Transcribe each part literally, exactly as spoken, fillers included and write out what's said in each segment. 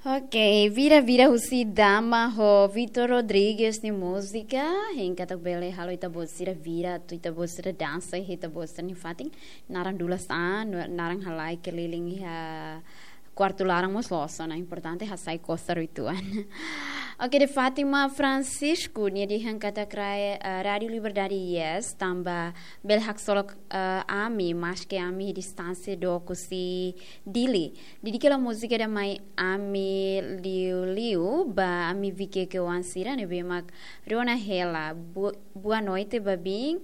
Ok, vira-vira husi Dama ho Vitor Rodrigues nia múzika. Hein katak bele halo ita-boot sira vira, atu ita-boot sira dansa, ita-boot sira-nia fatin. Naran dulas an, naran halai keliling iha kuartu laran mós loos ona, importante hasai kosar uitoan. Ok, de Fátima Francisco, nia dehan katak, eh, Rádio Liberdade, yes, tanba bele haksolok, eh, ami, maske ami distánsia dook husi Dili. Dedika hela múzika ida mai ami liuliu ba ami Viqueque oan sira ne'ebé mak rona hela. Bu-, boa noite ba biin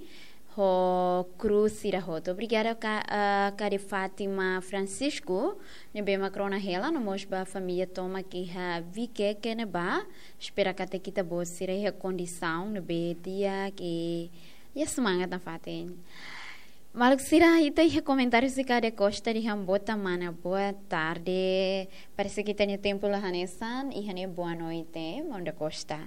ho kru sira hotu. Obrigada ka, ah, ka de Fátima Francisco ne'ebé mak rona hela, no mós ba família tomak iha Viqueque ne'ebá. Espera katak ita-boot sira iha kondisaun ne'ebé di'ak, iha semangat nafatin. Maluk sira, ita iha komentáriu husi Kade Costa dehan: boa tarde, mana. Boa tarde. Parese ke ita-nia tempu la hanesan, iha ne'e boa noite, Monda Costa.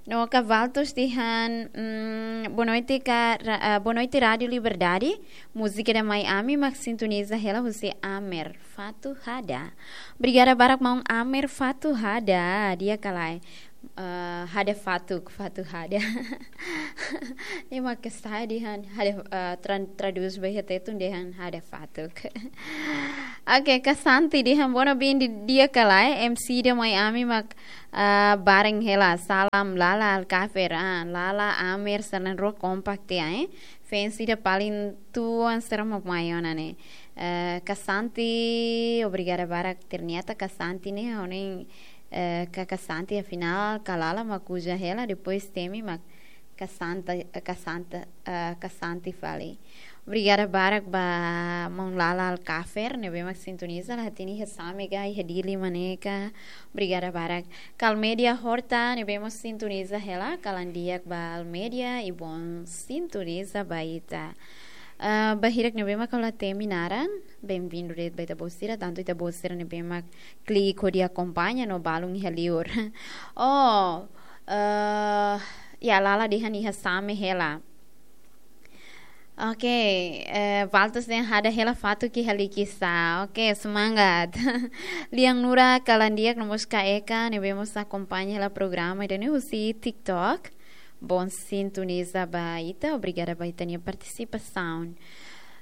No Kavaltos dehan, mm, boa noite ka ra-, ah, boa noite Rádio Liberdade. Múzika ida mai ami mak sintoniza hela husi Amer, Fatuk Hada. Obrigada barak maun Amer, Fatuk Hada. Di'ak ka lae? Ah, hada fatuk, fatuk hada. Ema ke sai dehan hada, ah, tran-, tradús ba iha Tetun dehan hada fatuk. Ok, Kasanti dehan: boa noite, biin, di'ak ka lae? M C ida mai ami mak, ah, bareng hela. Salam Lala Alkafer, ah, Lala, Amer, sira na'in-rua kompak tiha, eh. Fans ida paling tuan sira mak mai ona ne'e. Eh, Kasanti, obrigada barak. Ternyata Kasanti ne'e, ohin, eh, ka Kasanti, afinál ka Lala mak uza hela, depois temi mak Kasanta, eh, Kasanta, eh, Kasanti fali. Obrigada barak ba maun Lala Alkafer ne'ebé mak sintoniza, la hatene iha Same ka, iha Dili mak ne'e ka. Obrigada barak. Ka Almeida Horta ne'ebé mak sintoniza hela, kalan di'ak ba Almeida, i bom sintoniza ba ita. Ah, ba hirak ne'ebé mak la temi naran, bem-vindo de'it ba ita-boot sira, tantu ita-boot sira ne'ebé mak klik hodi akompaña no balun iha liur. Oh, eh, ya, Lala dehan iha Same hela. Ok, eh, Valtos dehan hada hela fatuk iha Likisá. Ok, semangat. Lian Nura, kalan di'ak, no mós Ka Eka ne'ebé mós akompaña hela programa ida-ne'e husi TikTok. Bom sintoniza ba ita, obrigada ba ita-nia partisipasaun.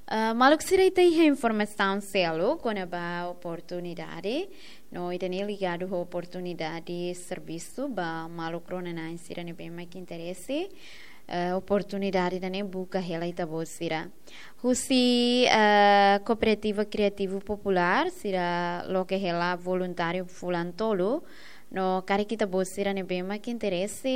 Ah, maluk sira, ita iha informasaun seluk kona-ba oportunidade, no ida-ne'e ligadu ho oportunidade servisu ba maluk rona-na'in sira ne'ebé mak interese, eh, oportunidade ida-ne'e buka hela ita-boot sira. Husi, eh, Kooperativa Kriativu Populár, sira loke hela voluntáriu fulan tolu, no karik ita-boot sira ne'ebé mak interese,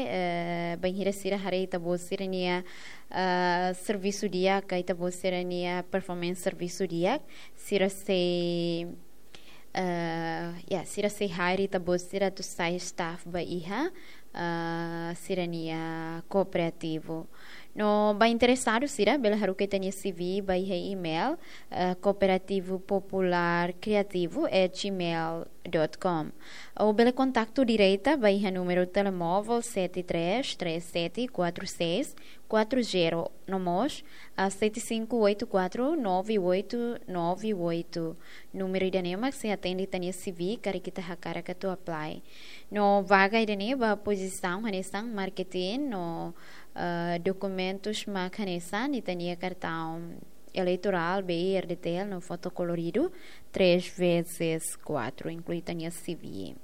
eh, bainhira sira haree ita-boot sira-nia, eh, servisu di'ak, ka ita-boot sira-nia performance servisu di'ak, sira sei, eh, ya, sira sei hire ita-boot sira atu sai staff ba iha, eh, sira-nia kooperativu. No ba interesadu sira bele haruka ita-nia C V ba iha email, eh, cooperativo popular criativo at gmail dot com. Ou bele kontaktu direta ba iha númeru telemóvel sete três três sete quatro seis quatro zero, no mós, ah, sete cinco oito quatro nove oito nove oito. Númeru ida-ne'e mak sei atende ita-nia C V karik ita hakarak atu apply. No vaga ida-ne'e ba pozisaun hanesan marketing no, ah, dokumentus mak hanesan ita-nia kartaun eleitorál, B I, R D T L, no foto koloridu três vezes quatro, inklui ita-nia C V.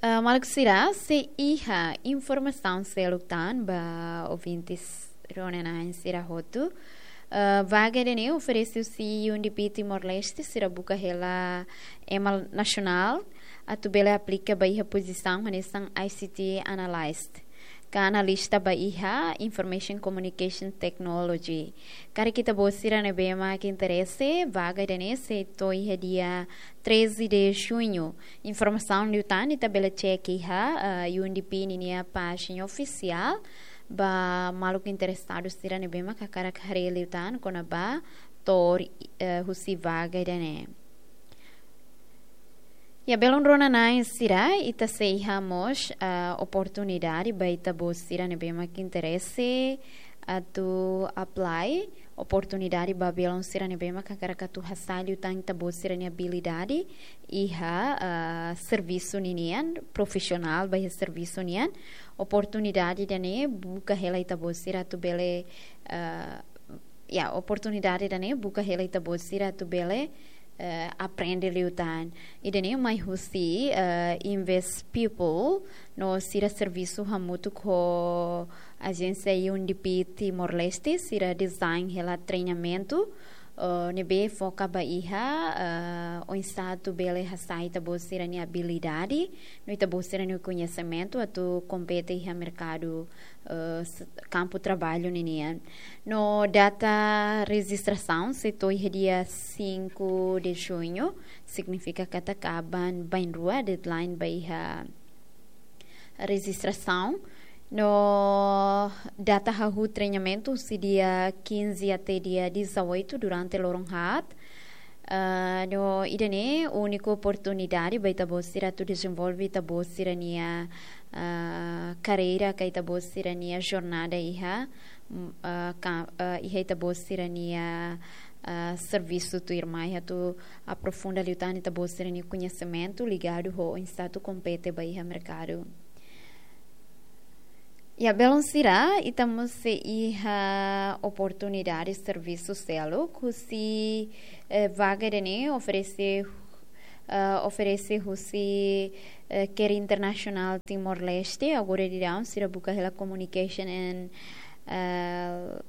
Ah, maluk sira, sei iha informasaun seluk tan ba ouvintes rona-na'in sira hotu. Ah, vaga ida-ne'e oferese husi U N D P Timor-Leste, sira buka hela ema nasionál atu bele aplika ba iha pozisaun hanesan I C T Analyst, ka analista ba iha Information Communication Technology. Karik ita-boot sira ne'ebé mak interese, vaga ida-ne'e sei to'o iha dia treze de junho. Informasaun liután ita bele cek iha, eh, U N D P ninia pájina ofisiál, ba maluk interesadu sira ne'ebé mak hakarak haree liután kona-ba to'o, eh, husi vaga ida-ne'e. Ya, belun rona-na'in sira, ita sei iha mós, ah, oportunidade ba ita-boot sira ne'ebé mak interese atu apply oportunidade ba belun sira ne'ebé mak hakarak atu hasai liután ita-boot sira-nia abilidade iha, ah, servisu ninian, profisionál ba iha servisu nian. Oportunidade ida-ne'e buka hela ita-boot sira atu bele, ah, ya, oportunidade ida-ne'e buka hela ita-boot sira atu bele, eh, aprende liután. Ida-ne'e mai husi, eh, Invest People, no sira servisu hamutuk ho ajénsia U N D P Timor-Leste, sira design hela treinamentu, eh, ne'ebé foka ba iha, eh, oinsá atu bele hasai ita-boot sira-nia abilidade, no ita-boot sira-nia koñesimentu atu kompete iha merkadu, eh, s-, kampu traballu ninian. No data rejistrasaun sei to'o iha dia cinco de junho, signifika katak aban bainrua deadline ba iha rejistrasaun. No data hahú treinamentu husi dia quinze até dia dezoito durante loron haat. Ah, no ida-ne'e úniku oportunidade ba ita-boot sira atu dezenvolve ita-boot sira-nia, ah, karreira ka ita-boot sira-nia jornada iha, mm, ah, ka, ah, iha ita-boot sira-nia, ah, servisu tuirmai atu aprofunda liután ita-boot sira-nia koñesimentu ligadu ho oinsá atu kompete ba iha merkadu. Ya, belun sira, ita mós sei iha oportunidade servisu seluk husi, eh, vaga ida-ne'e oferese, eh, oferese husi, eh, CARE International Timor-Leste, agora daudaun sira buka hela Communication and, eh,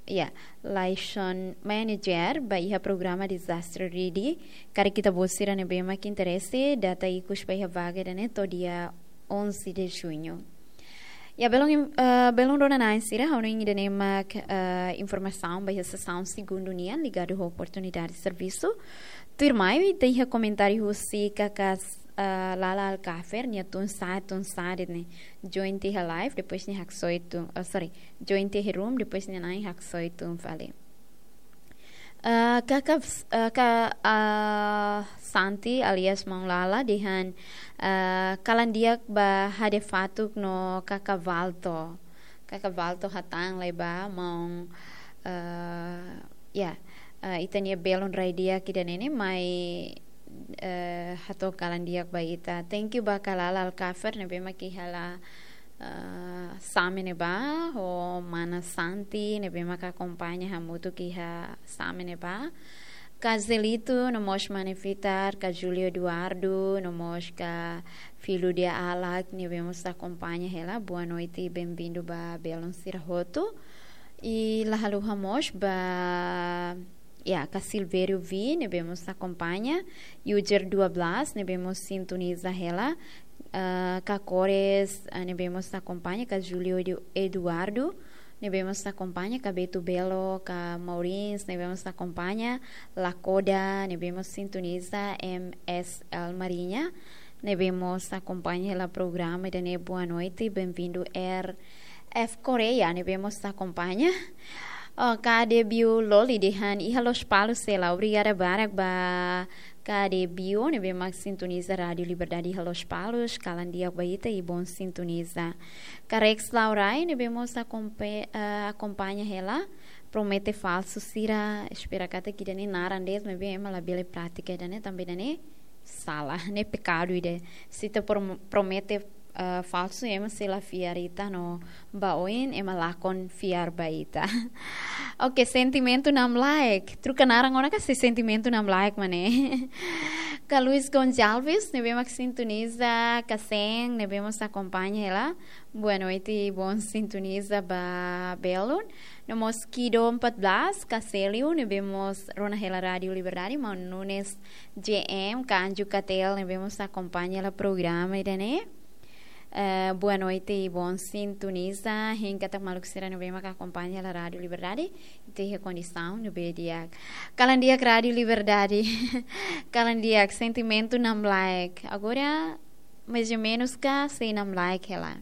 ya, Liaison Manager ba iha programa Disaster Ready. Karik ita-boot sira ne'ebé mak interese, data ikus ba iha vaga ida-ne'e to'o dia onze de junho. Ya, belun im-, eh, belun rona-na'in sira, ha'u hanoin ida-ne'e mak, eh, informasaun ba iha sesaun segundu nian ligadu ho oportunidade servisu. Tuirmai, ita iha komentáriu husi kakas, eh, Lala Alkafer, nia tun sa'e, tun sa'e de'it ne'e. Join tiha live, depois nia haksoit tun, oh, sorry, join tiha room, depois nia na'in haksoit tun fali. Eh, kaka, eh, ka, ah, Santi alias Maun Lala dehan, eh, kalan di'ak ba Hade Fatuk no kaka Valto. Kaka Valto hatán lai ba maun, eh, ya, eh, ita-nia belun rai di'ak ida-ne'e ne'e mai, eh, hato'o kalan di'ak ba ita. Thank you ba kaka Lala Alkafer ne'ebé mak iha hela, eh, Same ne'ebá, ho mana Santi ne'ebé mak akompaña hamutuk iha Same ne'ebá. Kaka Zelito, no mós mana Vitar, kaka Júlio Eduardo, no mós kaka Filho de Alak, ne'ebé mós akompaña hela. Boa noite, bem-vindo ba belun sira hotu. I la haluha mós ba, ya, kaka Silvério V, ne'ebé mós akompaña. User dua belas, ne'ebé mós sintoniza hela. Ah, kaka Kores, ah, ne'ebé mós akompaña, kaka Júlio Edu-, Eduardo, ne'ebé mós akompaña, kaka Beto Belo, kaka Maurins, ne'ebé mós akompaña, Lakoda, ne'ebé mós sintoniza, M S L Marinha, ne'ebé mós akompaña hela programa ida-ne'e. Boa noite, bem-vindo, R F Correia, ne'ebé mós akompaña. Oh, kaka Debio Loli dehan iha Lospalos hela, obrigada barak ba kaka Debio, ne'ebé mak sintoniza Rádio Liberdade iha Lospalos, kalan di'ak ba ita i bom sintoniza. Kaka Rex Laurai, ne'ebé mós akompe-, eh, akompaña hela, promete falsu sira, espera katak ida-ne'e naran de'it, maibé ema labele pratika ida-ne'e, tanba ida-ne'e sala, ne'e pekadu ida. Se ita prom-, promete, eh, falsu, ema sei la fiar ita no ba oin, ema lakon fiar ba ita. Oke, sentimentu namlaek. Troka naran ona ka sei sentimentu namlaek mak ne'e. Kaka Luis Gonçalves, ne'ebé mak sintoniza, kaka Sen, ne'ebé mós akompaña hela. Boa noite, bom sintoniza ba belun. No mós Kido empat belas, kaka Célio, ne'ebé mós rona hela Rádio Liberdade, maun Nunes J M, kaka Anju Katel, ne'ebé mós akompaña hela programa ida-ne'e. Eh, boa noite i bom sintoniza. Hein katak maluk sira ne'ebé mak akompaña hela Rádio Liberdade, ita iha kondisaun ne'ebé di'ak. Kalan di'ak Rádio Liberdade. Kalan di'ak, sentimentu namlaek. Agora, mais ou menos ka sei namlaek hela.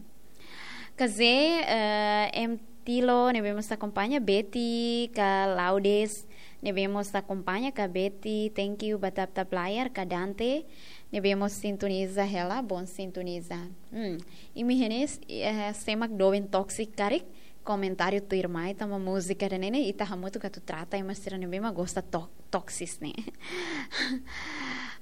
Kaka Zé, eh, M Tilo, ne'ebé mós akompaña, Betty, kaka Laudes, ne'ebé mós akompaña, kaka Betty, thank you ba tap-tap layar, kaka Dante, ne'ebé mós sintoniza hela, bom sintoniza. Hmm, imi hein ne'e, eh, sé mak doben toksik karik, komentáriu tuirmai tanba múzika ida-ne'e ne'e ita hamutuk atu trata ema sira ne'ebé mak gosta to- toxic ne'e.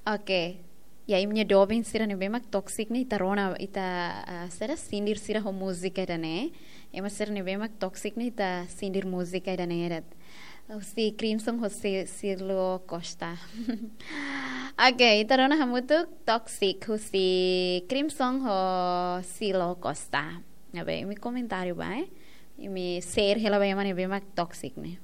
Oke. Ya, imi-nia doben sira ne'ebé mak toxic ne'e ita rona, ita, ah, sira sindir sira ho múzika ida-ne'e. Ema sira ne'ebé mak toxic ne'e ita sindir múzika ida-ne'e de'it. Husi Crimson ho Si- Silo Costa. Oke, ita rona hamutuk Toxic husi Crimson ho Silo Costa. Ne'ebé, imi komentáriu ba, eh? Imi share hela ba ema ne'ebé mak toxic ne'e.